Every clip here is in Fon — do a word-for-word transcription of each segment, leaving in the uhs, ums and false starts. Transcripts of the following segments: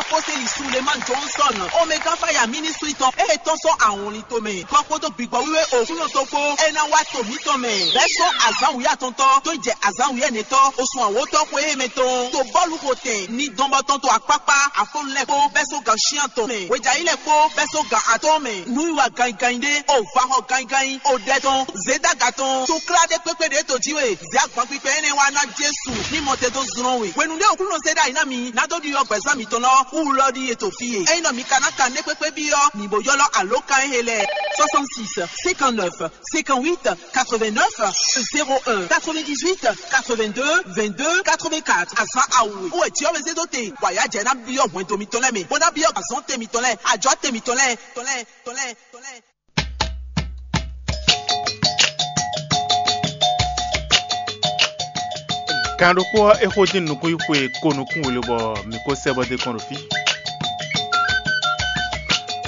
Aposteli Sulemani Johnson, Omega Fire Ministry tɔn, ée tɔ́n sɔ́ awɔnlin tomɛ, kɔ kpódó gbigbɔ wíwé Oklúnɔ tɔn kpó, é ná wá to mǐtɔn mɛ. Bɛ́ sɔ́ azǎn wǔyá atɔntɔ́ tó yi jɛ azǎn wǔyá ɛnɛtɔ́, osun awǒtɔ́ xwe émɛ tɔn, to bɔ́lu xo tɛn, ní dɔn bɔ tɔn to akpákpá, afɔ́nú lɛ́ɛ kpó, bɛ́ sɔ́ gan shián tɔn mɛ, hwejayi lɛ́ɛ kpó, bɛ́ sɔ́ gan atɔ́ɔ́n mɛ, nǔwiwa ganyiganyi ɖé, o va xɔ ganyiganyi, o ɖɛ tɔn, zědaga tɔn, to klá ɖé kpékpé ɖě to jí we, zě agban kpikpɛ énɛ́ wá ná Jesu, ní mɔ te dó zlɔ́n we. Hwenu ɖé Oklúnɔ zé ɖ'ayǐ ná mi, ná dó ɖiɖɔ gbɛ̌zán mitɔn lɔ, wú lɔ ɖíe to fí e. Ényí nɔ mi ka ná kan nɛ́ kpékpé byɔ́, mi bo ylɔ́ alǒkan e lɛ́ɛ: soixante-six, cinquante-neuf, cinquante-huit, quatre-vingt-neuf, zéro un, quatre-vingt-dix-huit, quatre-vingt-deux, vingt-deux, quatre-vingt-quatre. Azǎn awu e wɛ Jǐɔ́mɛ zé dó te, bɔ ayǎ jɛ ná byɔ́ hwɛndo mitɔn lɛ́ɛ mɛ, bó ná byɔ́ azɔ̌ te mitɔn lɛ́ɛ, ajɔ̌ te mitɔn lɛ́ɛ, tɔn lɛ́ɛ, tɔn lɛ́ɛ, tɔn lɛ́ɛ. Kan ɖokpó ɔ́, é xo dín nukún yi xwe ko nukún we lobɔ mǐ ko sɛ bɔ dé kɔn ɖo fí.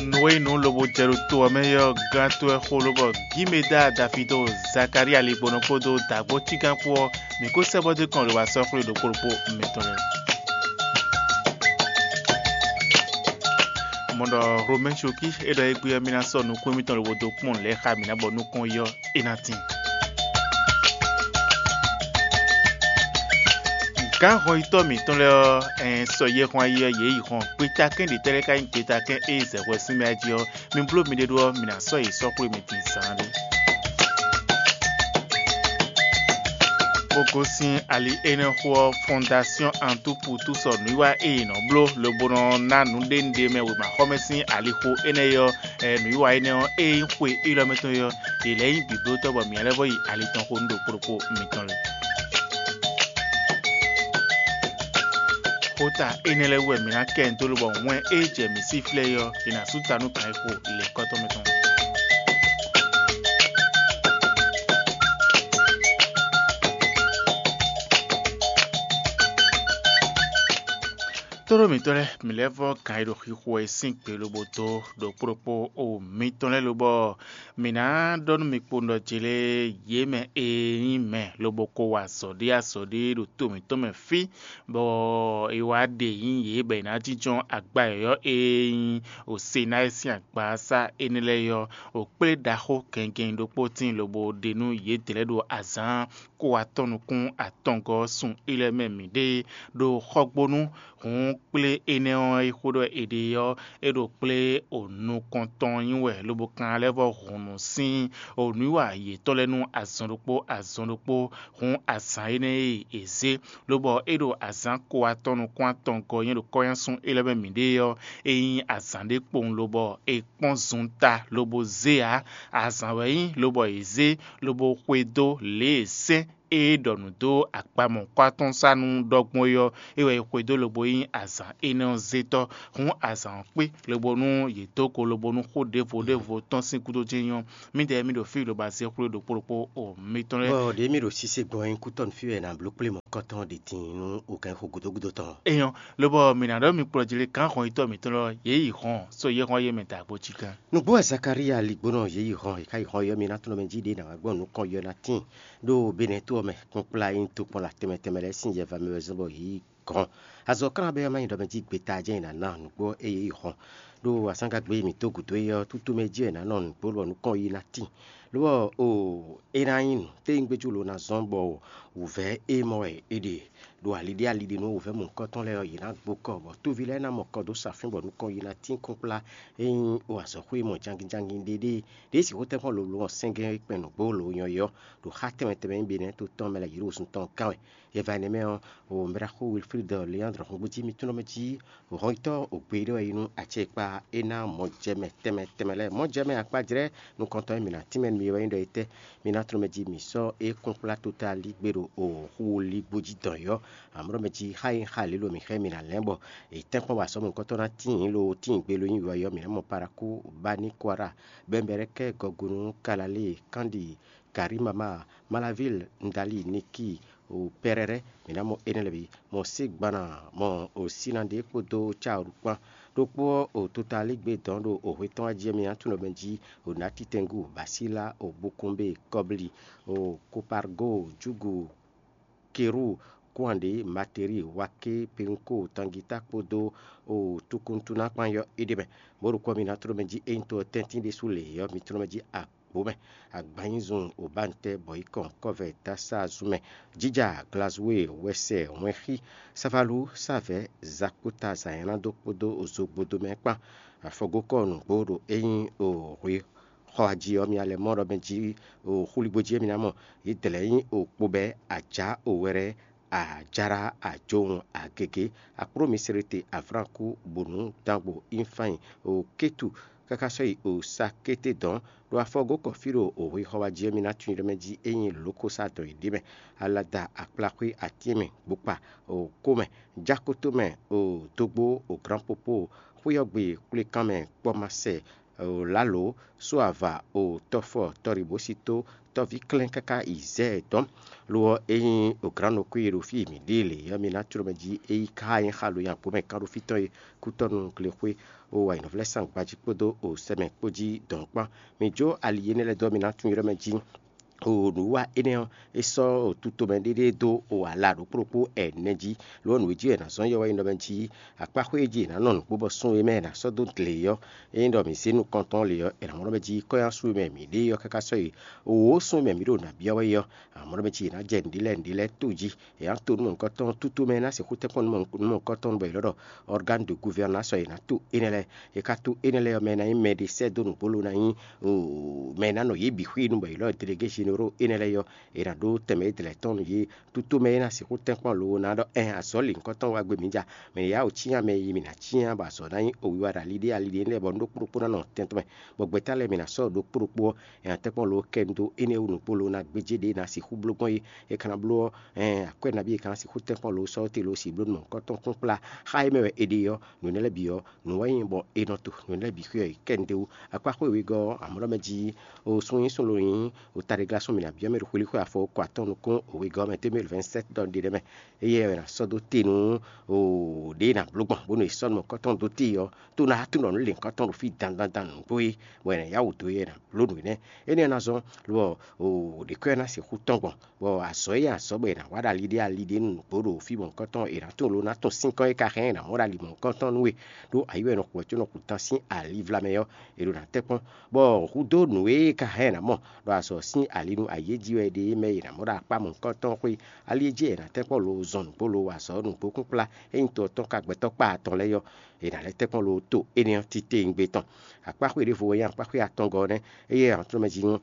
Nǔ e nyí nǔ lobo jɛ ɖo to ɔ́ mɛ é ɔ́, gán tó wɛ xo lobɔ Gímeda Dafido, Zakalía Ligbɔnɔ kpódó dǎgbó Cígán kpó ɔ́, mǐ ko sɛ bɔ dé kɔn ɖo wá sɔ́ xwlé ɖokpó ɖokpó mitɔn lɛ́ɛ. Mɔ ɖɔ Romɛ́n Cokí é ɖɔ égbé ɔ́, mì ná sɔ́ nukún émítɔn lobo dó kpɔ́n lɛ̌ xá mǐ ná bɔ nukɔn yi ɔ́, é ná tín. Gǎn hɔnyitɔ́ mǐtɔn lɛ́ɛ ɔ́, ɛn sɔ yɛhwan yi ɔ́, yě yi hɔn. Gbetakɛ́n ɖě tɛ́ lɛ́ɛ ka nyí gbetakɛ́n e zɛ hwɛ sín mɛ jí ɔ́, mi bló miɖée ɖó ɔ́, mi ná sɔ́ yě sɔ́ xwlé mi din zǎn ɖé. Bó gosín ali énɛ́ xó ɔ́, Fɔndasyɔ́n Antúpu tú sɔ nǔwiwa e è nɔ bló lobo nɔ ná nǔɖénúɖé mɛ wěmaxɔmɛ sín alixo énɛ́ é ɔ́, ɛ, nǔwiwa énɛ́ ɔ́, é nyí xwe élɔ́ mɛ tɔn é ɔ́, yě lɛ́ nyí bǐblótɔ́ bɔ mǐ lɛ́ vɔ yi ali tɔn xo nú ɖo kplɔ́kpó mitɔn lɛ́ɛ. Xota énɛ́ lɛ́ɛ wú wɛ mǐ ná kɛ dó lobɔ wɛn e jɛ mǐ sí flɛ́ é ɔ́, è nǎ sú ta nú gǎn e xo lěkɔ́tɔn mɛ tɔn. Tóɖó mǐtɔn lɛ́ɛ, mǐ lɛ́ vɔ́ gǎn e ɖo xixo wɛ sín gbe lobo dó ɖokpó ɖokpó o mǐtɔn lɛ́ɛ lobɔ mǐ ná ɖɔ nú mi kpowun ɖɔ jlé yě mɛ e nyí mɛ lobo ko wa azɔ̌ ɖé azɔ̌ ɖé ɖo to mǐtɔn mɛ fí, bɔ è wá ɖe nyí yě bɔ è nǎ jínjɔ́n agba yɔ̌yɔ́ e nyí Osenáyi sín agbasá énɛ́ lɛ́ɛ é ɔ́, wǒ kplé ɖaxó gɛngɛn ɖokpó tíin lobo ɖe nú yědɛɛ lɛ́ɛ ɖo azǎn kó atɔ́ nukún atɔngɔ́ ɔ́ sun ilɛ́ mɛ mǐɖée ɖo xɔgbónu. Hǔn kplé énɛ́ ɔ́ e xó ɖɔ è ɖe ɔ́, é ɖo kplé o nukɔntɔn nyí wɛ lobo kan lɛ́ vɔ hǔn nú sín o nǔwiwa yětɔn lɛ́ɛ nú azɔn ɖokpó azɔn ɖokpó. Hǔn azǎn énɛ́ e è zě, lobɔ é ɖo azǎn ko atɔn nukún atɔngɔ́ nyí ɖo kɔ́nyásun élɔ́ mɛ mǐɖée ɔ́, é nyí azǎn ɖé kpowun lobɔ è kpɔ́n zun ta lobo zé ǎ. Azǎn wɛ nyí lobɔ è zé lobo xwedó lě e sɛ́n e ɖɔ nǔ dó akpamɔ̌kɔ́ atɔ́ sá nú ɖɔgbɔn é ɔ́, é wɛ è xwedó lobo nyí azǎn énɛ́ ɔ́ zétɔ́. Hǔn azǎn ɔ́ kpé lobo nú yě dó go lobo nú xó ɖěvo ɖěvo tɔn sín gúdo jɛ́n nyí ɔ́, mǐdɛɛ mì ɖo fí lobo azé xwlé ɖokpó ɖokpó o mitɔn lɛ́ɛ. Bɔ ɖě mì ɖo sise gbɔn ɛ kútɔ́ nú fí wɛ ná bló kplé mɔ̌kɔtɔn ɖě din nú o gǎn xo gǔdo gúdo tɔn. Eyɔn, lobɔ mǐ ná ɖɔ mi kplɔ́ jí lé kán hɔn yitɔ́ mǐtɔn lɔ yě yi hɔn só yě hɔn yé mɛ dǎgbó cí gán. Nǔgbó wɛ Zakalía ligbónɔ yě yi hɔn, è ká yi hɔn yɔ mì ná tlɔ́n mɛ jí ɖě ná wá gbɔn nukɔn yɔ ná tíin ɖó Benɛ́to ɔ́ mɛ, kpɔ́nkplá e nyí tokpɔnla tɛnmɛ tɛnmɛ lɛ́ɛ sín yɛva mɛ wɛ zɔ́n bɔ yě yi gɔ̌n. Azɔ̌ klán bɛ́ ɔ́ má nyí ɖɔ mɛ jí gbeta jɛ́n è nǎ ná nǔgbó ée yě yi hɔn, ɖó azǎngagbe e mǐ dó gǔdo é ɔ́, tútú mɛ jí è nǎ nɔ nǔgbó bɔ nukɔn yi ná tíin. Ló ɔ́, o é ná nyí nǔ téwúngbéjú lo ná zɔ́n bɔ wǔvɛ́ e mɔ wɛ è ɖe ɖo ali ɖé ali ɖé nú wǔvɛ́ mɔ̌hunkɔtɔn lɛ́ɛ ɔ́, yě ná gbo kɔ, bɔ toví lɛ́ɛ ná mɔ kɔ dó sa fín bɔ nukɔn yi ná tín kɔ́nkplá e nyí o azɔ̌xwé e mɔ jangin jangin ɖé ɖé, ɖě sixú tɛ́nkpɔ́n lolo ɔ́ sɛ́ngɛ́n kpɛn nǔgbó lo nyɔ é ɔ́, ɖo xá tɛnmɛ tɛnmɛ e nyí Benɛ́to tɔn mɛ lɛ́ɛ yě ɖo sun tɔn gán wɛ. Yɛva énɛ́ mɛ ɔ́, o Mɛɖaxó Wilfrid Leandre hɔngbó jí mi tunɔ mɛ jí hɔnyitɔ́ ògbé ɖé wɛ yi nú acɛkpa é ná mɔjɛmɛ tɛnmɛ tɛnmɛ lɛ́ɛ. Mɔjɛmɛ akpajlɛ́ nukɔntɔn e mǐ ná tínmɛ nú mi wɛ nyí ɖɔ étɛ́? Mi ná tlɔ́n mɛ jí mǐ sɔ́ é kplɔ́nkplá tota lí gbé ɖo o xu ligbó jí dɔn yɔ́. Amlɔ mɛ jí xá e xá lě lo mǐ xá e mǐ ná lɛ́n bɔ è tɛ́nkpɔ́n wa sɔ́ mɔ̌hunkɔtɔn ná tíin lo tíin gbe lo nyí wiwa yɔ́. Mǐ ná mɔ Parakú, Bani Kwara, Bɛnbɛrɛkɛ, Gɔgunu, Kalalée, Kandi, Karimama, Malavil, Ndali, Niki, o Pɛrɛrɛ, mǐ ná mɔ énɛ́ lɛ́ɛ bǐ, mɔ Sígbana, mɔ o Sinadé kpódó Caolu kpán. Ɖokpó ɔ́, o tota lí gbé dɔn ɖo o hwe tɔn wá jí ɔ́, mi ná tunɔ mɛ jí o Natitɛngu, Basíla, o Bukunbe, Kɔbli, o Kopargo, Júgu, Keru, Kúnwanɖě, Materi, Waké, Penko, Tangita kpódó o Tukuntuna kpán yɔ́ é ɖ'é mɛ. Mɔ̌ ɖokpó ɔ́, mi ná tló mɛ jí ényí to ɔ́ tɛ́ntin ɖésú lě ɔ́, mi tló mɛ jí agbǒ mɛ. Agbanyízun, Obántɛ́, Bɔ̌yikɔn, Kɔ́vɛ, Dásá, Zunmɛ, Jija, Glazue, Wɛsɛ, Wɛnxí, Savalú, Savɛ̌, Zakúta, Zanyɛ́nádó kpódó Zogbodomɛ kpán. Afɔgókɔ nǔgbó ɖo ényí o hwe xɔ ají ɔ́, mi alɛ mɔ ɖɔ mɛ jí o xúligbó jí ɔ́, mi ná mɔ yě dlɛ̌ nyí o kpobɛ́, ajǎ, o wɛrɛ, ajǎɖá, ajowun, agěgé, akpló miselete, avlánkú, bǔnú, dangbo, infányi, o kétu, káká sɔ́ yi o sakété dɔ̌n, ɖo afɔgókɔ fí ɖo o hwe xɔ wá jí ɔ́, mi ná tunwun ɖɔ mɛ jí é nyí lǒkósá dɔn yě ɖ'é mɛ, alada, akplaxwé, atín mɛ, gbokpa, o kó mɛ, jákótó mɛ, o dógbó, o glǎnpopó, xwé ɔ́ gbe, kplékan mɛ, kpɔ́masɛ, o lǎlǒ, só ava, o tɔfɔ, tɔɖibǒsító, tɔví klɛ́n káká yi zɛ ɛ dɔn. Lo ɔ́, ényí o glǎn nɔ kú e ɖo fí e mǐ ɖe lě ɔ́, mi ná tló mɛ jí é yi ká nyí xalo nyi agbǒ mɛ kánɖófí tɔn e kútɔ́ nú glexwé, o ayǐnɔvlɛ́sán gbají kpódó o sɛmɛ kpó jí dɔ̌n kpán. Mi jó ali énɛ́ lɛ́ɛ dó, mi ná tunwun ylɔ́ mɛ jí. O nǔwiwa énɛ́ ɔ́, é sɔ́ tutomɛ ɖéɖé dó o ala ɖokpó ɖokpó ɛnɛ jí. Lo ɔ́, nǔ e jí wɛ è nǎ zɔ́n yɔ wɛ nyí ɖɔ mɛ jí akpáxwé e jí è nǎ nɔ nǔgbó bɔ sún e mɛ è nǎ sɔ́ dó gle ɔ́, ényí ɖɔ mǐ zé nukɔntɔn lě ɔ́, è nǎ mɔ ɖɔ mɛ jí kɔ́nyásun e mɛ mǐ ɖe ɔ́ káká sɔ́ yi. Wǒ sún e mɛ mǐ ɖo nǎ byɔ́ wɛ é ɔ́, a nǎ mɔ ɖɔ mɛ jí è nǎ jɛ nǔɖé lɛ́ɛ nǔɖé lɛ́ɛ to jí. È nǎ to nú mɔ̌hunkɔtɔn, tútú mɛ e ná sixú tɛ́nkpɔ́n nú mɔ̌hunkɔtɔn nú mɔ̌hunkɔtɔn bɔ è nɔ ɖɔ organe de gouvernance ɔ́, è nǎ to énɛ́ lɛ́ɛ. È ka to énɛ́ lɛ́ɛ ɔ́, mɛ e ná nyí mɛ ɖé sɛ́ dó nǔgbó lo ná nyí mɛ e ná nɔ yě bǐ xwínu bɔ è lɔ́ delégé généraux énɛ́ lɛ́ɛ ɔ́, è nǎ ɖó tɛnmɛ e dlɛ̌ tɔn nú yě. Tútú mɛ e ná sixú tɛ́nkpɔ́n lo ná ɖɔ ɛn azɔ̌ lǐnkɔtɔn wá gbé mǐ ja. Mɛ e yá wǒ cyán mɛ e yi mǐ ná cyán bɔ azɔ̌ ná nyí owiwa ɖo ali ɖé ali ɖé lɛ́ɛ bɔ un ɖó kpóɖokpó ná nɔ tɛn tɔn mɛ, bɔ gbɛ̌ta lɛ́ɛ mǐ ná sɔ́ ɖokpó ɖokpó ɔ́, è nǎ tɛ́nkpɔ́n lo kɛ nu dó énɛ́ wú nǔgbó lo ná gbéjé ɖě è nǎ sixú bló gbɔn é. È ka ná bló ɔ́, ɛn akwɛ́ nabí è ka ná sixú tɛ́nkpɔ́n lo sɔ́ te lo si bló nú mɔ̌hunkɔtɔn kpúkplá xá e mɛ wɛ è ɖe ɔ́, nǔ énɛ́ lɛ́ɛ bǐ ɔ́, nǔ wɛ nyí bɔ è nɔ to nǔ énɛ́ lɛ́ɛ bǐ xwé ɔ́ yi kɛ nu d'é wú. Akpáxwé wegɔ́ ɔ́, amɔ̌ ɖɔ mɛ jí o sun nyí sun lo nyí o taɖéglásún mǐ ná byɔ́ mɛ ɖo xwelíxwé afɔ ko atɔn nukún o wegɔ́ ɔ́ mɛ tɛ́nmɛ vingt-sept ɖɔ ɖe ɖɛ mɛ. Éyɛ́ wɛ è nǎ sɔ́ dó te nú o ɖě è nǎ bló gbɔn bónú è sɔ́ nú mɔ̌hunkɔtɔn dó te ɔ́, tó ná tunɔ nǔ lěhunkɔtɔn ɖo fí dandandan nǔgbó é, bɔ è nǎ yá wǔ dó é, è nǎ bló nǔ énɛ́. Énɛ́ ɔ́ ná zɔ́n lo ɔ, ɖě kɔ́ ɛ ná sixú tɔ́n gbɔn, bɔ azɔ̌ e azɔ̌ bɔ è nǎ wa ɖo ali ɖé ali ɖé nú nǔgbó ɖo fí mɔ̌hunkɔtɔn, è nǎ tunwun lo ná tunwun sínkɔ́n e ka hɛn ɛ nǎ mɔ ɖo ali mɔ̌hunkɔtɔn nú we, ɖó ayi wɛ è nɔ xu wɛ có nɔ xu tán sín ali vlamɛ ɔ́, è ɖo ná tɛ́nkpɔ́n, bɔ hudó nǔ e ka hɛn ɛ nǎ mɔ ɖo azɔ̌ sín ali nú ayi e jí wɛ è ɖe é mɛ è nǎ mɔ ɖo akpá mɔ̌hunkɔtɔn xwé. Ali e jí è nǎ tɛ́nkpɔ́n lo zɔn nǔgbó lo wa azɔ̌ nǔgbó kpúkplá, ényí to ɔ́ tɔn ka gbɛtɔ́ kpá atɔn lɛ́ɛ ɔ́, è nǎ lɛ́ tɛ́nkpɔ́n lo to énɛ́ ɔ́ titewungbe tɔn. Akpáxwé ɖěvo wɛ nyí akpáxwé atɔngɔ́ ɔ́ nɛ́. Éyɛ́ ɔ́, tlɔ́ mɛ jí nú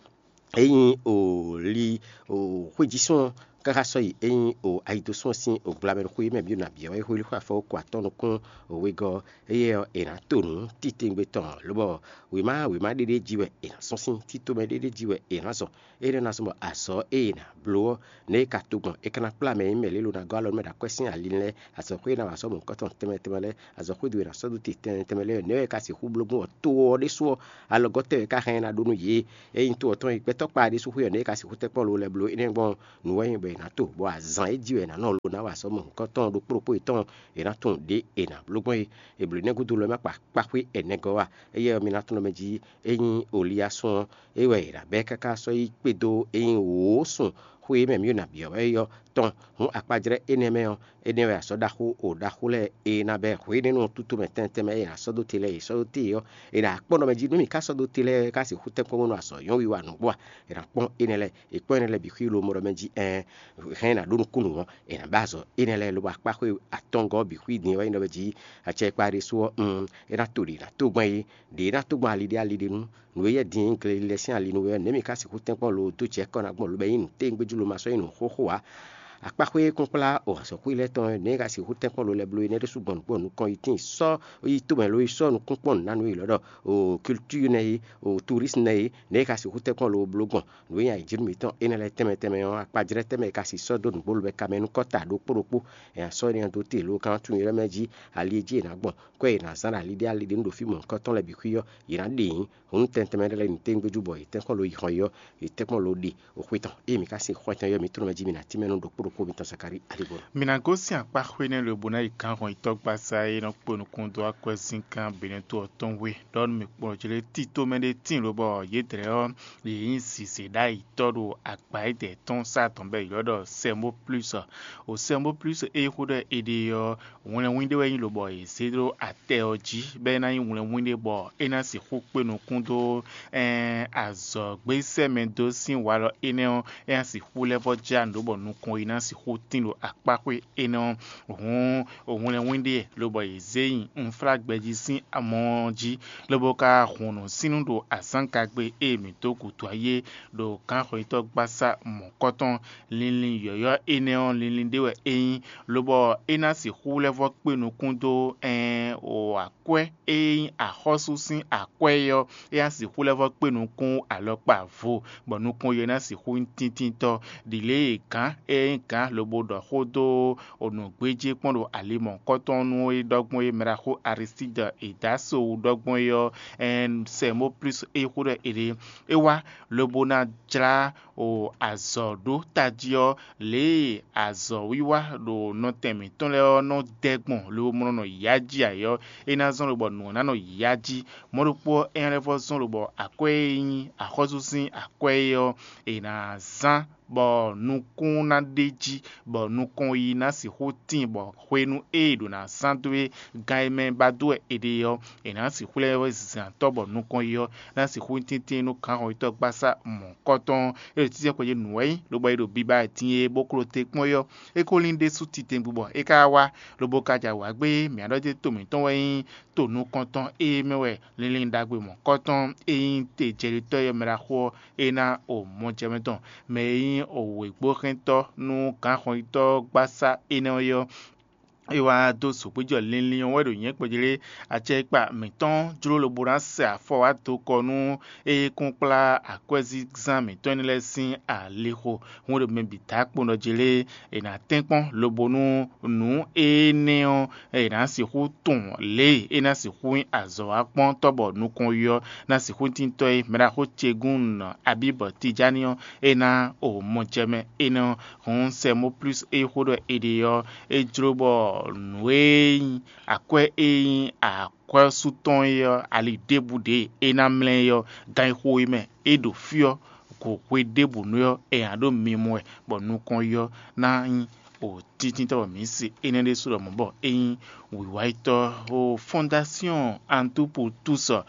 ényí o li o xwéjísún ɔ́ káká sɔ́ yi, ényí o ayidosún ɔ́ sín o gblamɛ ɖo xwé mɛ bǐ ɖo nǎ byɔ́ wɛ xwé xwé afɔ ko atɔ́ nukún o wegɔ́ ɔ́, éyɛ́ ɔ́, è nǎ to nǔ titewungbe tɔn, lobɔ wěma wěma ɖéɖé jí wɛ è nǎ sɔ́n sín, títɔ́mɛ ɖéɖé jí wɛ è nǎ zɔn. Énɛ́ ná zɔ́n bɔ azɔ̌ e è nǎ bló ɔ́, nɛ̌ é ka to gbɔn? É ka ná kplá mɛ e nyí mɛ lě lo ná gɔ́ alɔ nú mɛ ɖo akwɛ́ sín ali lɛ́ɛ, azɔ̌xwé e ná wa sɔ́ mɔ̌hunkɔtɔn tɛnmɛ tɛnmɛ lɛ́ɛ, azɔ̌xwédo e è nǎ sɔ́ dó te tɛnmɛ tɛnmɛ lɛ́ɛ, nɛ̌ wɛ é ka sixú bló gbɔn? To ɔ́ ɖésú ɔ́, alɔgɔ́ tɛ́ wɛ é ka hɛn ná ɖó nú yě? Ényí to ɔ́ tɔn e gbɛtɔ́ kpa ɖésú xwé ɔ́, nɛ̌ é ka sixú tɛ́nkpɔ́n lo lɛ́ɛ bló? Énɛ́ gbɔn nǔ wɛ nyí bɔ è nǎ to, bɔ azǎn e jí wɛ è nǎ nɔ lo ná wa sɔ́ mɔ̌hunkɔtɔn ɖokpó ɖokpó yětɔn è nǎ tunwun ɖě è nǎ bló gbɔn é. È blǒ énɛ́ gúdo lɔ é má kpa kpáxwé ɛnɛ gɔ́ a? Éyɛ́ ɔ́, mi ná tunwun mɛ jí ényí Oliyasún ɔ́, é wɛ è nǎ bɛ́ káká sɔ́ yi kpé dó ényí wǒ sun xwe e mɛ mǐ ɖo nǎ byɔ́ wɛ é ɔ́ tɔn. Hǔn akpajlɛ́ énɛ́ mɛ ɔ́, énɛ́ wɛ azɔ̌ ɖaxó o ɖaxó lɛ́ɛ e ná bɛ́ hwě énɛ́ nú tútomɛ tɛnmɛ tɛnmɛ e è nǎ sɔ́ dó te lɛ́ɛ è sɔ́ dó te ɔ́, è nǎ kpɔ́n ɖɔ mɛ jí nú mǐ ka sɔ́ dó te lɛ́ɛ ká sixú tɛ́nkpɔ́n bónú azɔ̌ nyɔ́ wiwa nǔgbó a? È nǎ kpɔ́n énɛ́ lɛ́ɛ, è kpɔ́n énɛ́ lɛ́ɛ bǐ xwí lobo ɖɔ mɛ jí ɛɛn, hɛn è nǎ ɖó nukúnnú ɔ́, è nǎ bɛ́ azɔ̌ énɛ́ lɛ́ɛ lobo akpá xwé atɔngɔ́ ɔ́ bǐ xwí din ɔ́ wɛ nyí ɖɔ mɛ jí acɛkpa ɖésú ɔ́, un, é ná to ɖě ná tó gbɔn é, ɖě ná tó gbɔn ali ɖé ali ɖé nú. Nǔ e yɛ din nyí glelilɛ sín ali nú we ɔ́, nɛ̌ mǐ ka sixú tɛ́nkpɔ́n lo dó jɛ kɔ́ ná gbɔn lobo nyí nǔ téwúngbéjú lo ma sɔ́ nyí nǔ xóxó ǎ? Akpáxwé kúnkplá o azɔ̌xwé lɛ́ɛ tɔn nɛ̌ ka sixú tɛ́nkpɔ́n lo lɛ́ɛ bló é nɛ́ ɖésú gbɔn nǔgbó ɔ́ nukɔn yi tíin sɔ́ yi tomɛ lo yi sɔ́ nukúnkpɔ́n nǔ ná nú yě lɔ ɖɔ o kiltíi nɛ́ é, o turísmu nɛ́ é, nɛ̌ ka sixú tɛ́nkpɔ́n lo bló gbɔn? Nǔ e nyi ayǐjínú mǐtɔn énɛ́ lɛ́ɛ tɛnmɛ tɛnmɛ ɔ́, akpajlɛ́ tɛnmɛ e ka si sɔ́ dó nǔgbó lo bɔ è ka mɛ nú kɔ́ta ɖokpó ɖokpó. È nǎ sɔ́ énɛ́ ɔ́ dó te lo kan tunwun ylɔ́ mɛ jí ali e jí è nǎ gbɔn, kɔ́ è nǎ zán ɖo ali ɖé ali ɖé nú ɖo fí mɔ̌hunkɔtɔn lɛ́ɛ bǐ xwí ɔ́, yě ná ɖe nyǐ. Hǔn tɛntɛnmɛ lɛ́ɛ lɛ́ɛ nyi téwúngbéjú bɔ yě tɛ́nkpɔ́n lo yi hɔn yi ɔ́, yě tɛ́nkpɔ́n lo ɖe o xwe tɔn. Ée mǐ ka sin xɔ tɔn yi ɔ́, mǐ tlɔ́n mɛ jí mǐ ná tínmɛ nú ɖokpó xó mitɔn Zakalíi Aligbɔnɔ. Mi ná gosín akpá xwé nɛ́ lobo ná yi gǎnhɔn yitɔ́gbasá e nɔ kpo nukún dó akwɛ́zíngán Benɛ́to ɔ́ tɔn hwe, ɖɔ nú mì kplɔ́n jlé tito mɛ ɖé tíin lobɔ yědɛɛ ɔ́, yě nyí zǐzé ɖ'ayǐtɔ́ ɖo agba édɛɛ tɔn sá tɔn bɔ è ylɔ́ ɖɔ Sɛmóplúsɔ. O Sɛmóplúsɔ e xó ɖɔ è ɖe ɔ́, hwlɛnwín ɖé wɛ nyí lobɔ è zě ɖó atɛ ɔ́ jí, bɔ é ná nyí hwlɛnwín ɖé bɔ é ná sixú kpé nukún dó ɛn azɔ̌gbésɛ́mɛ dó sín walɔ énɛ́ ɔ́, é ná sixú lɛ́ vɔ́ jlá nǔ ɖó bɔ nukɔn yi ná sixú tín ɖo akpáxwé énɛ́ ɔ́. Hǔn hwlɛnwín ɖé lobɔ è zě nyi unflágbɛjí sín amɔ ɔ́ jí, lobo ka hun nǔsínnú ɖo azǎngagbe e mǐ dó gǔdo ayé ɖo gǎnxɔyítɔ́gbasá mɔ̌kɔtɔn. Linlin yɔ̌yɔ́ énɛ́ ɔ́, linlin ɖé wɛ é nyí, lobɔ é ná sixú lɛ́ vɔ́ kpé nukún dó ɛn o akwɛ́ e nyí axɔ́sú sín akwɛ́ é ɔ́, é ná sixú lɛ́ vɔ́ kpé nukún alɔkpa vo, bɔ nukɔn yě ná sixú nyí tíntíntɔ́. Ɖi lě e gǎn e nyí gǎn lobo ɖɔ xó dó nǔgbéjé kpɔ́n ɖo ali mɔ̌hunkɔtɔn nú é ɖɔ gbɔn é mɛ ɖaxó Aristídi e dó aso wú ɖɔ gbɔn é ɔ́, ɛn Sɛmóplúsi e xó ɖɔ è ɖe é wá lobo ná jlá o azɔ̌ ɖó tají ɔ́, lě e azɔ̌wiwa ɖo nɔtɛn mǐtɔn lɛ́ɛ ɔ́ nɔ dɛ gbɔn lobo mɔ nɔ yǎ jí ayǐ ɔ́, é ná zɔ́n lobɔ nǔ ɔ́ ná nɔ yǎ jí. Mɔ̌ ɖokpó ɔ́, é ná lɛ́ vɔ́ zɔ́n lobɔ akwɛ́ e nyí axɔ́sú sín akwɛ́ é ɔ́, è nǎ zán bɔ nukún ná ɖ'é jí, bɔ nukɔn yi ná sixú tíin, bɔ hwenu e è ɖǒ ná zán dó é gán e mɛ ba dó wɛ è ɖe ɔ́, è nǎ sixú lɛ́ zǎn tɔ́ bɔ nukɔn yi ɔ́ ná sixú nyí tɛ́ntin nú gǎnhɔnyitɔ́ gbasá mɔ̌hunkɔtɔn. É ɖo títí xweyǐ nǔ wɛ nyí, lobo é ɖo biba din e bó klo te kpɔ́n é ɔ́, é ko lín ɖésú titewungbe bɔ é ka wá, lobo ka jɛ awǎ gbé. Mǐ ɖɔ jɛ to mǐtɔn wɛ nyí to nukɔntɔn e mɛ wɛ linlin ɖagbe mɔ̌kɔtɔn e nyí te jɛɖitɔ́ e mɛ ɖaxó ɔ́ é ná o mɔjɛmɛ tɔn, mɛ e nyí o wěgbóxɛntɔ́ nú gǎnxɔnyitɔ́ gbasá énɛ́ ɔ́ é ɔ́, é wá dó zǒgbéjɔ linlin ɔ́ wɛ ɖo nyɛ̌kpɛ́jlé acɛkpa mǐtɔn jló lobo ná sɛ afɔ wá dó kɔ nú é kún kplá akwɛ́zínzán mǐtɔn énɛ́ lɛ́ɛ sín alixo. Hǔn ɖo mɛ bǐ dó akpowun ɖɔ jlé è nǎ tɛ́nkpɔ́n lobo nú nǔ énɛ́ ɔ́ è nǎ sixú tunwun lě e é ná sixú nyí azɔ̌wákpɔ́ntɔ́ bɔ nukɔn yi ɔ́ ná sixú tíntɔ́ é. Mɛɖaxó ce gún nɔ abǐ bɔ Tijáni ɔ́ é ná o mɔjɛmɛ énɛ́ ɔ́. Hǔn Sɛmóplúsi e xó ɖɔ è ɖe ɔ́, é jló bɔ nǔ e nyí akwɛ́ e nyí akwɛ́sú tɔn é ɔ́, ali ɖěbǔ ɖě é ná mlɛ́ é ɔ́, gan e xo é mɛ é ɖo fí ɔ́, go hwe ɖěbǔ nú ɔ́, è nǎ ɖo mimɔ wɛ, bɔ nukɔn yi ɔ́ ná nyí o tíntínta bɔ mǐ se énɛ́ ɖésú ɖɔ mɔ̌ bɔ é nyí wǐwáyitɔ́ xó fɔ́ndásyɔ́n Antupu túsɔ,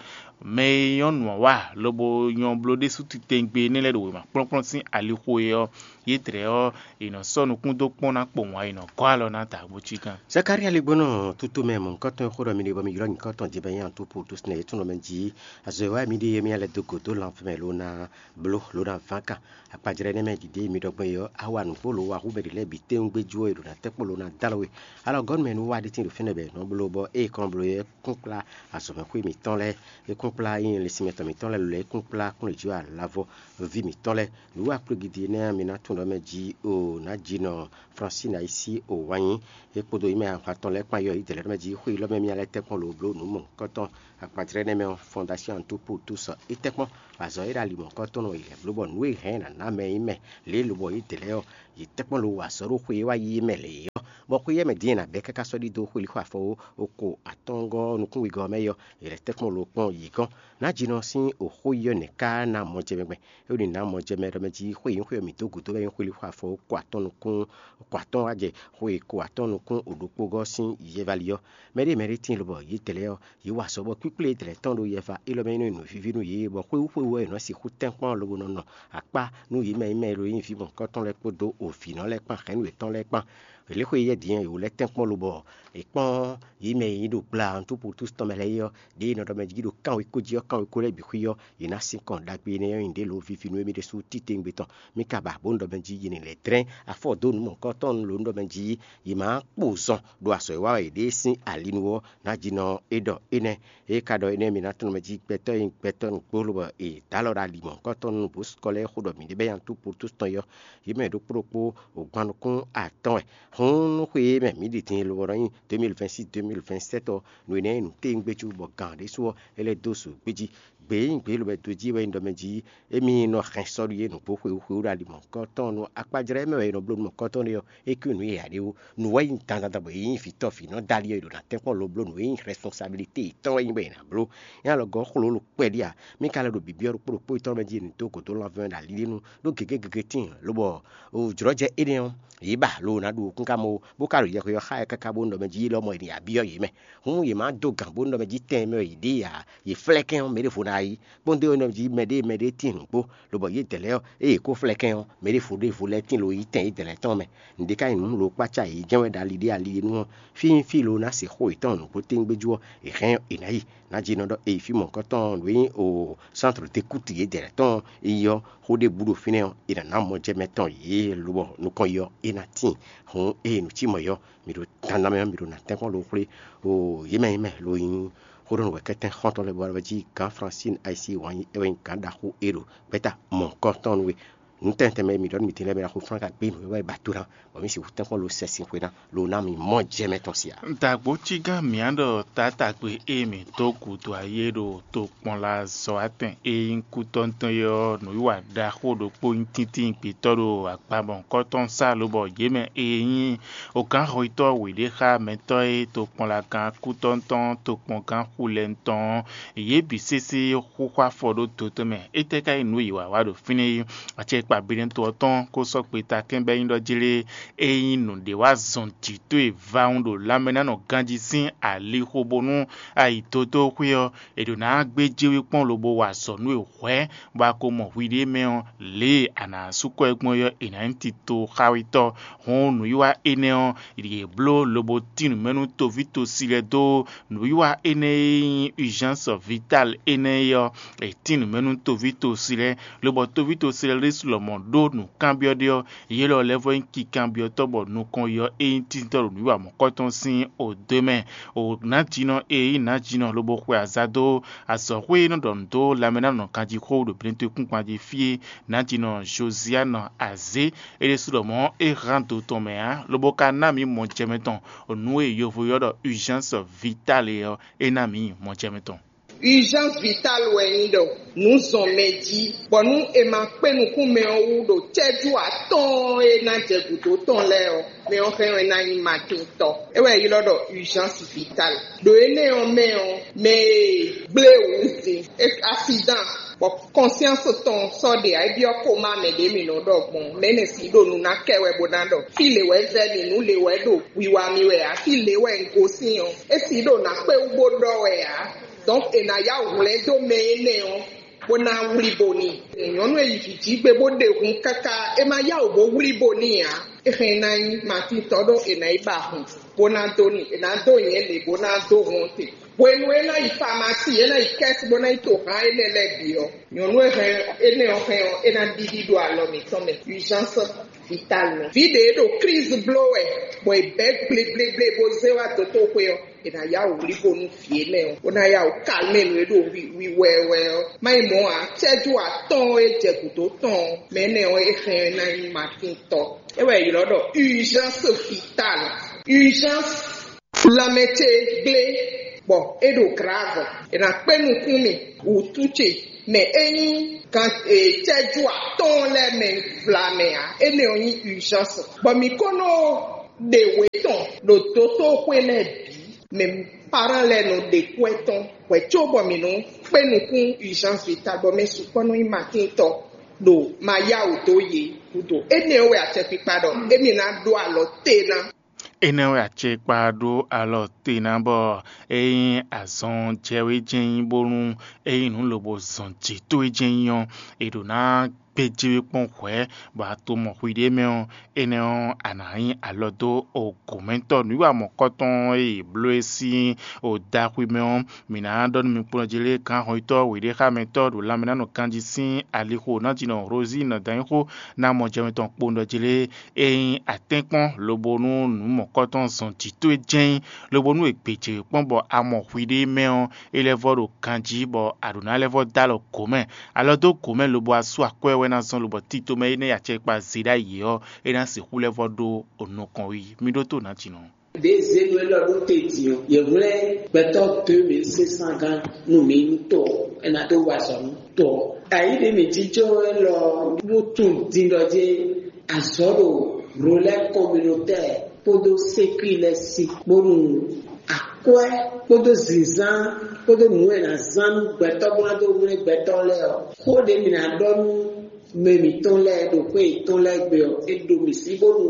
mɛ e nyɔ́ nǔ ɔ́ wa lobo nyɔ́ bló ɖésú titewungbe énɛ́ lɛ́ɛ ɖo wěma kplɔ́nkplɔ́n sín alixo é ɔ́, yědɛɛ ɔ́, è nɔ sɔ́ nukún dó kpɔ́n ná kpowun ǎ, è nɔ gɔ́ alɔ ná da bó cí gán. Zakalía lɛ́ gbɔn nɔ tútú mɛ mɔ̌hunkɔtɔn e xó ɖɔ mi ɖe bɔ mi ylɔ́ nyǐkɔ tɔn din bɔ é nyí Antupu túsɔ nɛ́ é tunɔ mɛ jí. Azɔ̌ e wá mǐ ɖe é mì lɛ́ dó gǒ dó lanfɛ́ mɛ ló ná bló ló ná ván kan. Akpajlɛ́ énɛ́ mɛ ɖiɖe e mi ɖɔ gbɔn é ɔ́, a wa nǔgbó lǒ wa hú mɛ ɖě lɛ́ɛ bǐ tɛ́ngbéjú ɔ́, è ɖǒ ná tɛ́ kpó ló ná dó alɔ we. Alɔgɔ́nú mɛ nú wa ɖé tíin ɖo fínɛ́ bɔ è nɔ bló bɔ ée kɔn bló é kún kplá azɔ̌mɛxwé mǐtɔn lɛ́ɛ, é kún kplá nyí linsinmɛ tɔn mǐtɔn lɛ́ɛ lɔlɔ é kún kplá kúnlějí alavɔ ví mǐtɔn lɛ́ɛ. Nǔ wa kplɔ́gidi énɛ́ ɔ́, mi ná tunwun ɖɔ mɛ jí o nǎ ji nɔ Fransín ayisí o wǎn nyi é kpódó yi mɛ ahwan tɔn lɛ́ɛ kpán yɔ yi dɛ̌lɛ́ mɛ jí xwé élɔ́ mɛ mì lɛ́ tɛ́ kpɔ́n lo bló nǔ mɔ̌hunkɔtɔn akpajlɛ́ nɛ́ mɛ ɔ́, Fɔ́ndásyɔ́n Antupu Túsɔ é tɛ́ kpɔ́n. Azɔ̌ e ɖo ali mɔ̌hunkɔtɔn nɔ yi lɛ̌ bló bɔ nǔ e hɛn ná ná mɛ nyí mɛ lě e lobɔ yě dlɛ́ ɔ́, yě tɛ́ kpɔ́n lo wa azɔ̌ ɖo xwe e wá yí mɛ lě ɔ́, bɔ xwe yɛ́ mɛ din e nǎ bɛ́ káká sɔ́ ɖidó xwelíxɔ afɔ ó, ko atɔ́ɔ́ngɔ́ nukúnwegɔ́ ɔ́ mɛ yɔ, è lɛ̌ tɛ́ kpɔ́n lo kpɔ́n yǐ gɔ́n. Nǎjinɔ sín oxó yi ɔ́ nɛ̌ ká ná mɔjɛmɛ gbɛn? É ɖo nǐ ná mɔjɛmɛ ɖɔ mɛ jí xwé e nyí xwé ɔ́ mǐ dó gǔdo wɛ nyí xwelíxɔ afɔ ko atɔ́ɔ́n wá jɛ xwe ko atɔ́ɔ́n nukún o ɖokpó gɔ́ sín yɛvali ɔ́. Mɛɖée mɛɖée tíin lobɔ yě dlɛ́ ɔ́, yě wa azɔ̌ bɔ kpíkplé e dlɛ̌ tɔn ɖo yɛva élɔ́ mɛ é nɔ nyí nǔvíví nú yě, bɔ xwéwú xwéwú ɔ́ è nɔ sixú tɛ́nkpɔ́n lobo nɔ nɔ akpá nú yě mɛ e mɛ e ɖo nyí vǐ mɔ̌hunkɔtɔn lɛ́ɛ kpódó ovǐnɔ lɛ́ɛ kpán hɛ̌nnu yětɔn lɛ́ɛ kpán. Lě xwe yɛ́ din ɔ́, yě wú lɛ́ tɛ́nkpɔ́n lobɔ è kpɔ́n yě mɛ e nyí ɖo gbla Antuputus tɔn mɛ lɛ́ɛ é ɔ́, ɖěe è nɔ ɖɔ mɛ jí ɖo kánwekó jí ɔ́, kánwekó lɛ́ɛ bǐ xwí ɔ́, yě ná sín kɔn ɖagbe énɛ́ ɔ́ nyi ɖě lǒ víví nú émí ɖésú titewungbe tɔn. Mí ka ba bǒ ɖɔ mɛ jí yě ní lɛ́ dlɛ́n afɔ dó nǔ mɔ̌hunkɔtɔn lǒ ɖɔ mɛ jí yě má kpo zɔn ɖo azɔ̌ e wa wɛ yě ɖe sín ali nu ɔ́ ná jí nɔ é ɖɔ énɛ́. É ka ɖɔ énɛ́ mi ná tunwun mɛ jí gbɛtɔ́ e nyí gbɛtɔ́ nǔgbó lobɔ è dǒ alɔ ɖo ali mɔ̌hunkɔtɔn nú bó sukɔ lɛ́ɛ xo ɖɔ mǐ ɖe bɛ́ nyi Antuputus tɔn é ɔ́, yě mɛ ɖokpó ɖokpó o gban nukún atɔ́ɔ́n wɛ. Hǔn nú xwe e mɛ mǐ ɖi din lobɔ nɔ nyí deux mille vingt-six deux mille vingt-sept ɔ́, nǔ énɛ́ e nǔ téwúngbéjú bɔ gǎn ɖésú ɔ́, é lɛ́ dó zǒ gbé jí. Gbě e nyí gbě e lobɔ è dó jí wɛ nyí ɖɔ mɛ jí émí nɔ hɛn sɔ́ ɖu yě nǔgbó xwewú xwewú ɖo ali mɔ̌hunkɔtɔn nú akpájlɛ́ mɛ wɛ è nɔ bló nú mɔ̌hunkɔtɔn ɖé ɔ́, é kú nǔ e ǎ ɖé wú. Nǔ wɛ nyí dandan bɔ è nyí vǐ tɔ́ vǐ nɔ dali ɔ́, è ɖo ná tɛ́nkpɔ́n lobló nǔ e nyí rɛsponsabilite yětɔn wɛ nyí bɔ è nǎ bló. Nyɛ alɔgɔ́ xlǒ lo kpɛɖí ǎ. Mí ka lɛ́ ɖo bǐbí ɔ́ ɖokpó ɖokpó yětɔn mɛ jí è nǐ dó gǒ dó lanvɛ́ ɖo ali ɖé nu ɖó gěgé gěgé tíin, lobɔ jlɔ̌jɛ énɛ́ ɔ́, yě ba lo ná ɖu kún ka mɔ ó, bó ka ɖo yɛhwe ɔ́ xá ɛ káká bónú ɖɔ mɛ jí lɔmɔ̌ è nǐ ya byɔ́ yě mɛ. Hǔn yě má dó gǎn bónú ɖɔ mɛ jí tɛn e mɛ wɛ yě ɖe ǎ, yě flɛ́ kɛ́n ɔ́, mɛ ɖěvo ná yí. Kpɔ́ndé ɔ́ nɔ jí mɛ ɖé mɛ ɖé tíin nǔgbó, lobɔ yědɛɛ lɛ́ɛ ɔ́, ée yě kó flɛ́ kɛ́n ɔ́, mɛ ɖěvo ɖěvo lɛ́ɛ tíin lo yí tɛn yědɛɛ lɛ́ɛ tɔn mɛ. Nǔɖé ka nyí nǔ lo kpácá yě jɛ́n wɛ ɖo ali ɖé ali ɖé nu ɔ́, fí nyí fí lo ná se xó yětɔn nǔgbó téwúngbéjú ɔ́, è hɛn ɔ́, è nǎ yi. Nǎjínɔ ɖɔ è yi fí mɔ̌hunkɔtɔn nǔ e nyí o sántrɔ dékútu yědɛɛ lɛ́ɛ tɔn yi ɔ́, xó ɖěbǔ ɖo fínɛ́ ɔ́, è nǎ ná mɔ jɛ mɛ tɔn yě lobɔ nukɔn yi ɔ́, é ná tíin. Hǔn ée nǔ cí mɔ̌ yi ɔ́, mǐ ɖo dandan mɛ ɔ́, mǐ ɖo ná tɛ́nkpɔ́n ɖo xwlé o yě mɛ nyí mɛ lo nyí xóɖɔnú wɛ kɛ́tɛ́n xɔ́ntɔn lɛ́ɛ bɔ é jí gǎn Fransín Ayisíi wǎn yí é wɛ nyí gǎn ɖaxó é ɖo gbɛ́ta mɔ̌hunkɔtɔn nú we. Nǔ tɛntɛn mɛ e mǐ ɖɔ nú mǐ din lɛ́ɛ mɛ ɖaxó Flán ka gbé nǔ e wɛ è ba do ná, bɔ mǐ sixú tɛ́nkpɔ́n lo sɛ́sin xwe ná, lo ná mì mɔ jɛ mɛ tɔn sia. Dǎgbó cí gán mǐ á ɖɔ taátagbe e mǐ dó gǔdo ayé ɖo tokpɔnlazɔ́watɛn e nyí kútɔ́ntɔn é ɔ́, nǔwiwa ɖaxó ɖokpó nyí tíntín gbětɔ́ ɖo akpamɔ̌kɔ́tɔn sá lobɔ yě mɛ e nyí ogǎnxɔyítɔ́ wěɖéxámɛtɔ́ e tokpɔnlagán kútɔ́ntɔn tokpɔngán xulɛ́ntɔn ɔ́, yě bǐ sésé xúxú afɔ ɖó dotɛ́ mɛ. Étɛ́ ka nyí nǔ e yě wá wa ɖo fínɛ́ é? Acɛkpa binɛtɔ́ ɔ́ tɔn kó sɔ́ gbeta kɛ́n bɔ é nyí ɖɔ jlé é nyí nǔɖé wá zɔn jǐ towe vawun ɖo lanmɛnánɔ ganjí sín alixo bónú ayi dódó xwé ɔ́, è ɖǒ ná gbéjé we kpɔ́n lobo wa azɔ̌ nú we hwɛ̌, bɔ a ko mɔ hwiɖée mɛ ɔ́, lě e a nǎ sú kɔ ɛ gbɔn é ɔ́, è nǎ nyí tito xawetɔ́. Hɔn nǔwiwa énɛ́ ɔ́, yě bló lobo tín nǔ mɛ nú toví tosi lɛ́ɛ dó. Nǔwiwa énɛ́ e nyí urgence vitale énɛ́ é ɔ́, è tín nǔ mɛ nú toví tosi lɛ́ɛ, lobɔ toví tosi lɛ́ɛ ɖésú lɔmɔ̌ ɖó nǔkanbyɔ́ ɖé ɔ́, yě lɔ lɛ́ vɔ nyí kikanbyɔ́tɔ́ bɔ nukɔn yi ɔ́, é nyí tíntɔ́ ɖo nǔwiwa mɔ̌kɔtɔn sín odó mɛ. O nǎjínɔ e nyí nǎjínɔ lobo xwe azǎn dó azɔ̌xwé e nɔ ɖɔ nǔ dó lanmɛnánɔ ganjíxó ɖo Benɛtwekúngban jí fí é, nǎjínɔ Joziyanu Azě, é ɖésú ɖɔ mɔ̌ é hán do tɔn mɛ ǎ, lobo ka ná mǐ mɔjɛmɛ tɔn nǔ e yovo ylɔ́ ɖɔ urgence vitale ɔ́, é ná mǐ mɔjɛmɛ tɔn. Urgence vitale wɛ nyí ɖɔ nǔ zɔn mɛ jí, bɔ nú è ma kpé nukún mɛ ɔ́ wú ɖo cɛ́jú atɔ́ɔ́n e ná jɛ gǔdo tɔn lɛ́ɛ ɔ́, mɛ ɔ́ hɛn ɔ́ é ná nyí matíntɔ́. É wɛ è ylɔ́ ɖɔ urgence vitale. Ɖo énɛ́ ɔ́ mɛ ɔ́, mɛ e gblé wǔ din, accident, bɔ conscience tɔn sɔ́ ɖe ǎ, é byɔ́ kóma mɛ ɖě mǐ nɔ ɖɔ gbɔn, mɛ énɛ́ si ɖo nǔ ná kɛ wɛ bó ná ɖɔ fí lě wɛ vɛ́ mì, nǔ lě wɛ ɖo wiwa mì wɛ ǎ, fí lě wɛ un gosín ɔ́, é si ɖo nǎ kpé wú bó ɖɔ wɛ ǎ. Donc è nǎ yá wǔ hwlɛ́n dó mɛ énɛ́ ɔ́, bó ná wlí bo n'i. Nyɔ̌nu e yi vǐ jí gbe bó ɖe hun káká, é ma yá wǔ bó wlí bo n'i ǎ. É hɛn ná nyí Matín tɔ́ ɖó è nǎ yi ba hun, bó ná dó n'i, è nǎ dó nyɛ̌ lě bó ná dó hun ɔ́ te. Hwenu e é ná yi famasí, é ná yi kɛ́si bó ná yi to han énɛ́ lɛ́ɛ bǐ ɔ́, nyɔ̌nu e hɛn énɛ́ ɔ́ hɛn ɔ́, é ná ɖiɖi ɖo alɔ mǐtɔn mɛ, urgence vitale mɛ. Vǐ ɖě ɖo crise bló wɛ, bɔ è bɛ̌ gblégblégblé bó zé wá dotóxwé ɔ́, è nǎ yá wǔ wlí bo nú vǐ énɛ́ ɔ́, bó ná yá wǔ kalmé nǔ e ɖo wi wi wɛɛwɛ ɔ́. Má nyí mɔ̌ ǎ, cɛ́jú atɔ́ɔ́n e jɛ gǔdo tɔn ɔ́, mɛ énɛ́ ɔ́, é hɛn ɔ́ ná nyí Matín tɔ́. É wɛ è ylɔ́ ɖɔ urgence vitale, urgence. Lanmɛ ce gblé, bɔ é ɖo grave. È nǎ kpé nukún mì wǔtu ce mɛ é nyí gan cɛ́jú atɔ́ɔ́n lɛ́ɛ mɛ vlamɛ ǎ. Énɛ́ ɔ́ nyí urgence. Bɔ mǐ ko nɔ ɖe wě tɔn ɖo dotóxwé lɛ́ɛ bǐ, mɛ parán lɛ́ɛ nɔ ɖe kwɛ́ tɔn hwɛ̌ cóbɔ mǐ nɔ kpé nukún urgence vitale, bɔ mɛ sukpɔ́ nɔ nyí Matín tɔ́ ɖo ma yá wǔ dó yě gúdo. Énɛ́ ɔ́ wɛ acɛkpikpa ɖɔ émí ná ɖó alɔ te ná. Énɛ́ wɛ acɛkpa ɖó alɔ te ná bɔ é nyí azɔn jɛ wé jɛ́n nyí bónú é nyí nǔ lobo zɔn jǐ towe jɛ́n nyí ɔ́, è ɖǒ ná gbéjé we kpɔ́n hwɛ̌, bɔ a to mɔ hwiɖée mɛ ɔ́, énɛ́ ɔ́, a nǎ nyí alɔ dó ogǒmɛtɔ́ nǔwiwa mɔ̌kɔtɔn e è bló é sín odaxwi mɛ ɔ́. Mǐ ná ɖɔ nú mi kplɔ́n jí lé gǎnhɔnyitɔ́ wěɖéxámɛtɔ́ ɖo lanmɛnánɔ ganjí sín alixo ná jínɔ Rozín nɔ danyixó ná mɔ jɛ mitɔn kpowun ɖɔ jí lé. Ényí a tɛ́nkpɔ́n lobo nú nǔ mɔ̌kɔtɔn zɔn jǐ towe jɛ́n nyí, lobo nú è gbě jě kpɔ́n bɔ a mɔ hwiɖée mɛ ɔ́, é lɛ́ vɔ́ ɖo ganjí bɔ a ɖǒ ná lɛ́ vɔ́ dó alɔ gǒ mɛ. Alɔ dó gǒ mɛ lobo a sú akwɛ́ bɔ é ná zɔ́n lobɔ tito mɛ énɛ́ e acɛkpa zé ɖ'ayǐ ɔ́, é ná sixú lɛ́ vɔ ɖó nukɔn wí. Mi ɖótó nǎjínɔ. Ɖěe zěnu élɔ́ ɖó te din ɔ́, yě hwlɛ́n gbɛtɔ́ deux mille cinq cents gán nú mǐ nú tɔ ɔ́, é ná dó wa azɔ̌ nú tɔ ɔ́. Ayǐ ɖě mǐ jínjɔ́n élɔ́ ɔ́ ɖó tunwun din ɖɔ jɛ́n azɔ̌ ɖo Rolɛ́ Communautaire kpódó Sécu lɛ́ɛ sí, bónú akwɛ́ kpódó zǐnzán kpódó nǔ e è nǎ zán nú gbɛtɔ́ bó ná dó hwlɛ́n gbɛtɔ́ lɛ́ɛ ɔ́, xó ɖě mǐ ná ɖɔ nú mɛ mǐtɔn lɛ́ɛ ɖo xwé yětɔn lɛ́ɛ gbe ɔ́, é ɖo mǐ sí bónú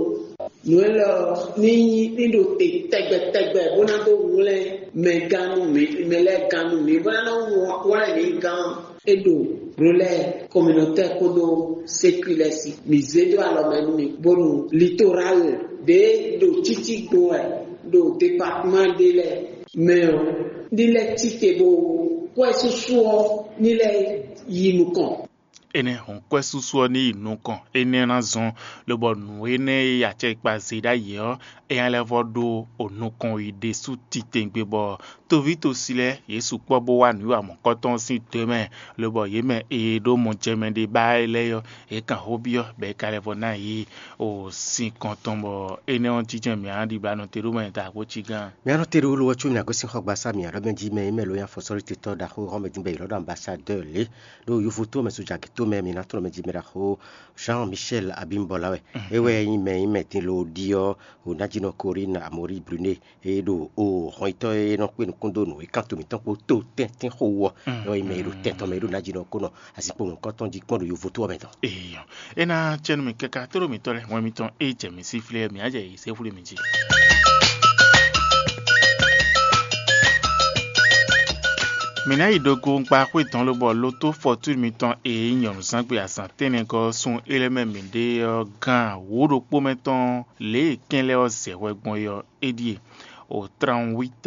nǔ élɔ́ ɔ́ ní nyí ní ɖo te tɛgbɛ tɛgbɛ bó ná dó hwlɛ́n mɛ gán nú mǐ, mɛ lɛ́ɛ gán nú mǐ, bó ná nɔ hwlɛ́n mǐ gán. É ɖo Rolɛ́ Communautaire kpódó Sécu lɛ́ɛ sí. Mǐ zé dó alɔ mɛ nú mi, bónú Littoral ɖě ɖo títí gbo wɛ ɖo departement ɖé lɛ́ɛ mɛ ɔ́, ní lɛ́ cí te bó kwɛ́ súsú ɔ́ ní lɛ́ yi nukɔn. Énɛ́ hɔn kwɛ́ súsú ɔ́ ní yi nukɔn, énɛ́ ná zɔ́n, lobɔ nǔ énɛ́ e acɛkpa zé ɖ'ayǐ ɔ́, é ná lɛ́ vɔ ɖó nukɔn yi ɖésú titewungbe, bɔ toví tosi lɛ́ɛ yě sukpɔ́ bó wá nǔwiwa mɔ̌kɔtɔn ɔ́ sín do mɛ, lobɔ yě mɛ e ɖó mɔjɛmɛ ɖé ba lɛ́ɛ ɔ́, yě kan xó byɔ́, bɔ é ka lɛ́ vɔ ná yě o sin kɔn tɔn, bɔ énɛ́ ɔ́ jínjɔ́n mǐ ná ɖibla nɔ te ɖó mɛ da xó cí gán. Mǐ nɔ te ɖo wolo ɔ́ có mǐ ná gosín xɔgbasá mǐ aɖɔ́ mɛ jí mɛ e mɛ ló nyí afɔsɔ́lítɔ́tɔ́ ɖaxó Rɔ́mɛ dín bɔ è ylɔ́ ɖɔ ambasadɛ́ɛ lě ɖo yovoto mɛ sójagětó mɛ mǐ ná tlɔ́n mɛ jí mɛ ɖaxó Jean Michel Abímbɔlá wɛ. É wɛ nyí mɛ e nyí mɛ din lo ɖi ɔ́, Onájínɔ Corinne Amorí Brunet e ɖo o hɔnyitɔ́ e nɔ kpé nukún dó nǔ e kan to mǐtɔn kpó to tɛ́ntin xo wú ɔ́, é wɛ nyí mɛ e ɖo tɛn tɔn mɛ e ɖo Onájínɔ kó nɔ azinkpo mɔ̌hunkɔtɔn jí kpɔ́n ɖo yovoto ɔ́ mɛ tɔn. Eyɔ, é ná cɛ́nú mì káká tlóló mǐtɔn lɛ́ɛ, wɛn mitɔn e jɛ mǐ sí flɛ́ mǐ á jɛ yě sɛ́ xwlé mì jí. Mǐ ná yi ɖo gongba xwé dɔn lobɔ lotó fɔtúni mitɔn e nyí nyɔ̌nuzángbe azǎn tɛ́nnɛgɔ́ ɔ́ sun é lɛ́ mɛ mǐ ɖe ɔ́ gán wǒ ɖokpó mɛ tɔn lě e kɛn lɛ́ɛ ɔ́ zɛ hwɛ gbɔn é ɔ́, é ɖíe: o trente-huit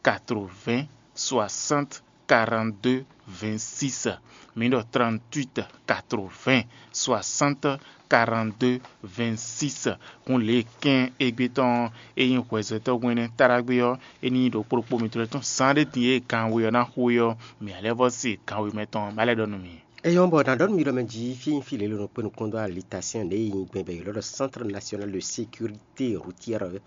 quatre-vingts soixante quarante-deux vingt-six. Mǐ ɖɔ trente-huit quatre-vingts soixante quarante-deux vingt-six. Hǔn lě e kɛ́n égbé tɔn e nyí hwɛzɔ́tɔ́ hwɛ́nɛ́ táɖágbé ɔ́, é ní nyí ɖokpó ɖokpó mitɔn lɛ́ɛ tɔn zán ɖé din e ganwe ɔ́ ná xo é ɔ́, mǐ ná lɛ́ vɔ se ganwe mɛ tɔn bá lɛ́ ɖɔ nú mi. É nyɔ́ bɔ nǎ ɖɔ nú mi ɖɔ mɛ jí fí nyí fí lě e nɔ kpé nukɔn dó alitasyɛn ɖě e nyí gbɛn bɔ è ylɔ́ ɖɔ Centre National de Sécurité Routière,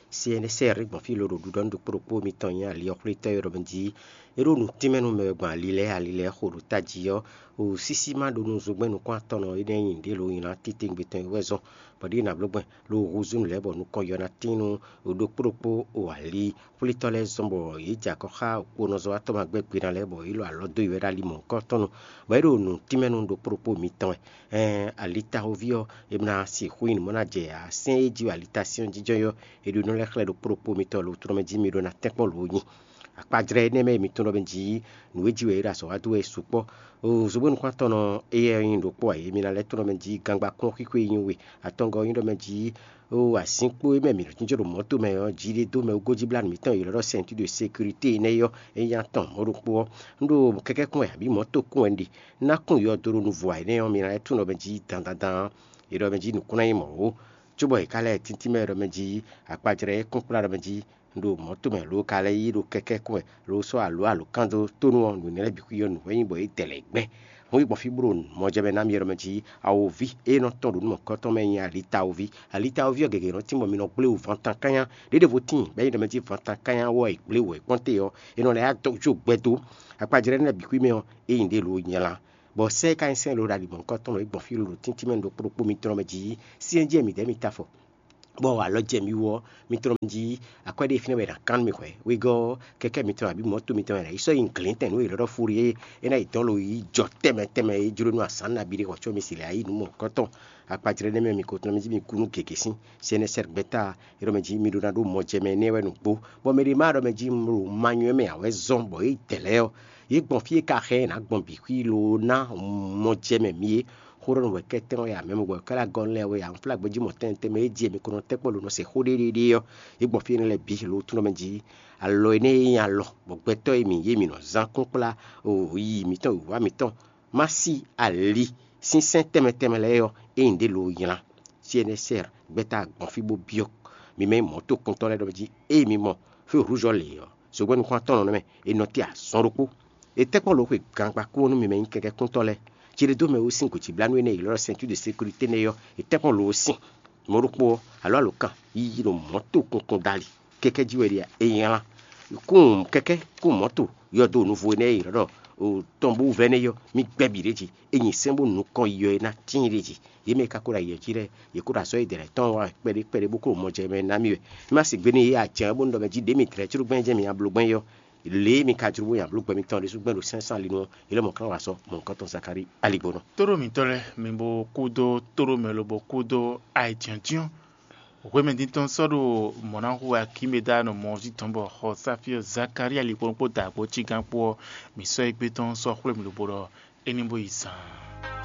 C N S R, gbɔn fí lǒ ɖo ɖuɖɔ nú ɖokpó ɖokpó mitɔn nyí ali ɔ́ xwlétɔ́ e ɖɔ mɛ jí é ɖo nǔ tínmɛ nú mɛ wɛ gbɔn ali lɛ́ɛ, ali lɛ́ɛ xo ɖo tají ɔ́, o sísí ma ɖo nú zogbɛ́n nukún-atɔ́nɔ énɛ́ nyi ɖě lo nylá titewungbe tɔn e wɛ zɔ́n, bɔ ɖěe nǎ bló gbɛn lo húzú nǔ lɛ́ɛ bɔ nukɔn yɔ ná tín nú ɖokpó ɖokpó o ali xwlétɔ́ lɛ́ɛ zɔ́n bɔ yě jɛ akɔ xá kponɔzɔ́watɔ́ ma gbɛ́ gbe ná lɛ́ɛ bɔ yě lɔ alɔ dó yi wɛ ɖo ali mɔ̌hunkɔ tɔn nu, bɔ é ɖo nǔ tínmɛ nú ɖokpó ɖokpó mitɔn wɛ. Ɛɛn, alitaxoví ɔ́, è nɔ sixú nyi nǔ mɔ ná jɛ asɛ́n e jí wɛ alitasyɛ́n jínjɔ́n ɔ́, è ɖo nɔ lɛ́ xlɛ́ ɖokpó ɖokpó mitɔn lo trɔ́mɛ jí mi ɖó ná tɛ́nkpɔ́n lǒ nyi. Akpajlɛ́ énɛ́ mɛ e mi tunwun ɖɔ mɛ jí nǔ e jí wɛ è ɖo azɔ̌ wa dó wɛ sukpɔ́. Zogbɛ́n nukún-atɔ́nɔ éyɛ́ nyí ɖokpó ǎ, mi ná lɛ́ tunwun ɖɔ mɛ jí gangba kún xwíxwé nyí we, atɔngɔ́ nyí ɖɔ mɛ jí o azǐnkpo e mɛ mǐ nɔ jínjɔ́n ɖo mɔ̌to mɛ ɔ́, jí ɖé dó mɛ wú gójíblánú mǐtɔn e è ylɔ́ ɖɔ ceinture de sécurité énɛ́ é ɔ́, é nyí atɔn mɔ̌ ɖokpó ɔ́. Un ɖo kɛkɛ́ kún wɛ abǐ mɔ̌to kún wɛ un ɖe. Un ná kún yɔdo ɖo nuvɔ ǎ énɛ́ ɔ́, mi ná lɛ́ tunwun ɖɔ mɛ jí dandandan ɔ́, è ɖɔ mɛ jí nǔkún ná nyí mɔ̌ ó. Cóbɔ è ka lɛ́ tíntín mɛ ɖɔ mɛ jí akpajlɛ́ e kún kplá ɖɔ mɛ jí un ɖo mɔ̌to mɛ lǒ ka lɛ́ yí ɖo kɛkɛ́ kún wɛ lǒ sɔ́ alǒ alǒkan dó tónú ɔ́, nǔ énɛ́ lɛ́ɛ bǐ xwí ɔ́ nǔ wɛ nyí bɔ é dɛ lɛ̌ gbɛ́. Hǔn yi gbɔn fí bó ɖo mɔjɛmɛ ná mi ɖɔ mɛ jí awoví e nɔ tɔ́n ɖo nú mɔ̌kɔtɔn mɛ nyí alitawoví. Alitawoví ɔ́ gěgé nɔ tín bɔ mi nɔ gblé wǔ vantan kányá. Ɖěɖevo tíin bɔ é nyí ɖɔ mɛ jí vantan kányá wɔ è gblé wǔ è kpɔ́n te ɔ́, è nɔ lɛ́ yá dó jó gbɛ dó. Akpajlɛ́ énɛ́ bǐ xwí mɛ ɔ́, é nyí ɖě lǒ nyla. Bɔ sɛ́ e ka nyí sɛ́n e lǒ ɖo ali mɔ̌hunkɔtɔn lɔ é gbɔn fí lǒ ɖo tíntín mɛ ɖokpó ɖokpó mitɔn mɛ jí, syɛ́njɛ mǐdɛɛ mi ta afɔ. Bɔ alɔ jɛ mi wú ɔ́, mi tlɔ́n mi jí akwɛ́ ɖé fínɛ́ wɛ è nǎ kán nú mi hwɛ̌. Wegɔ́ ɔ́, kɛkɛ́ mitɔn abǐ mɔ̌to mitɔn wɛ è nǎ yi sɔ́ nyi glǐntɛn nǔ e è nɔ ɖɔ fúri é, é ná yi dɔn lo yi jɔ tɛnmɛ tɛnmɛ e jló nú azǎn nabí ɖé hɔn có mi si lɛ́ yá yi nǔ mɔ̌hunkɔtɔn. Akpajlɛ́ nɛ́ mɛ mi ko tlɔ́n mi jí mi kú nú gěgé sín. C N S R gbɛ́ta e ɖɔ mɛ jí mi ɖó ná ɖó mɔjɛmɛ énɛ́ wɛ nǔgbó, bɔ mɛ ɖé ma ɖɔ mɛ jí un ɖo manyɔ mɛ ǎ wɛ zɔ́n bɔ é dɛ lɛ́ɛ ɔ́, yě gbɔn fí e ka xɛ ná gbɔn bǐ xwí lo ná mɔjɛmɛ mi é. Xó ɖɔ nú wɛ̌kɛ́tɛ́n ɔ́ ya mɛ wɛ̌kɛ́ lɛ́ɛ gɔ́ lɛ́ɛ wɛ ya, un flá gbɛ́ jí mɔ̌ tɛnmɛ tɛnmɛ e jí mi ko nɔ tɛ́ kpɔ́ lo nɔ se xó ɖéɖéɖé ɔ́, yě gbɔn fí énɛ́ lɛ́ɛ bǐ lo túnɔ mɛ jí. Alɔ énɛ́ e nyí alɔ bɔ gbɛtɔ́ e mǐ yí mǐ nɔ zán kún kplá o yi mǐtɔn wǐwá mǐtɔn má sí ali sínsɛ́n tɛnmɛ tɛnmɛ lɛ́ɛ ɔ́, é nyí ɖě lo nylá. C N S R gbɛ́ta gbɔn fí bó byɔ́ mi mɛ nyí mɔ̌tokuntɔ́ lɛ́ɛ ɖɔ jí ée mi mɔ fí rǔzɔ́ lě ɔ́, zogbɛ́ nukún atɔ́nɔ nɛ́ mɛ è nɔ te azɔn ɖokpó. È tɛ́ kpɔ́n lǒ xwe gangba kú ɔ́ nú mi mɛ nyí kɛkɛ́kúntɔ́ lɛ́ɛ, Céɖédómɛ wú sín gǒjíblánú énɛ́ e è ylɔ́ ɖɔ ceinture de sécurité nɛ́ ɔ́, è tɛ́nkpɔ́n lo ɔ́ sín. Mɔ̌ ɖokpó ɔ́, alǒ alǒkan yiyi ɖo mɔ̌ to kunkun dali kɛ́kɛ́ jí wɛ ɖi a? È nylá. Kún kɛ́kɛ́ kún mɔ̌to yɔdo nuvo énɛ́ e è ylɔ́ ɖɔ tɔnbú vɛ́ nɛ́ ɔ́, mì gbɛ́ bǐ ɖ'é jí. È nyi sɛ́n bó nukɔn yi ɔ́ é ná tíin ɖ'é jí. Yě mɛ e ka ko ɖo ayǐ ɔ́ jí lɛ́ɛ, yě ko ɖo azɔ̌ e è ɖe lɛ́ɛ tɔn wá kpɛɖé kpɛɖé bó ko ɖo mɔ jɛ mɛ ná mì wɛ. Mì ma se gbe nú yě ǎ, jɛ̌n bó un ɖɔ mɛ jí ɖě mì tlɛ̌ có gbɛ́n jɛ́n mì nyabló gbɛ́n é ɔ́, lě e mi ka jló bó nyabló gbɛ mitɔn ɖésú gbɛ́n ɖo sɛ́n sín ali nu ɔ́, yě lɛ́ mɔ kán wá sɔ́ mɔ̌hunkɔtɔn Zakalíi aligbɔnɔ. Tóɖó mǐtɔn lɛ́ɛ, mi bo kúdó tóɖó mɛ lobo kúdó ayǐjínjɔ́n. Hwemɛ din tɔn sɔ́ ɖo mɔ̌ ná hu akínmɛdá nɔ mɔ ɔ́ jí tɔn bɔ xɔ sáfí ɔ́ Zakalíi aligbɔnɔ kpó dǎgbó cígán kpó ɔ́, mǐ sɔ́ égbé tɔn sɔ́ xwlé mì lobo ɖɔ é ní bó yi zaan.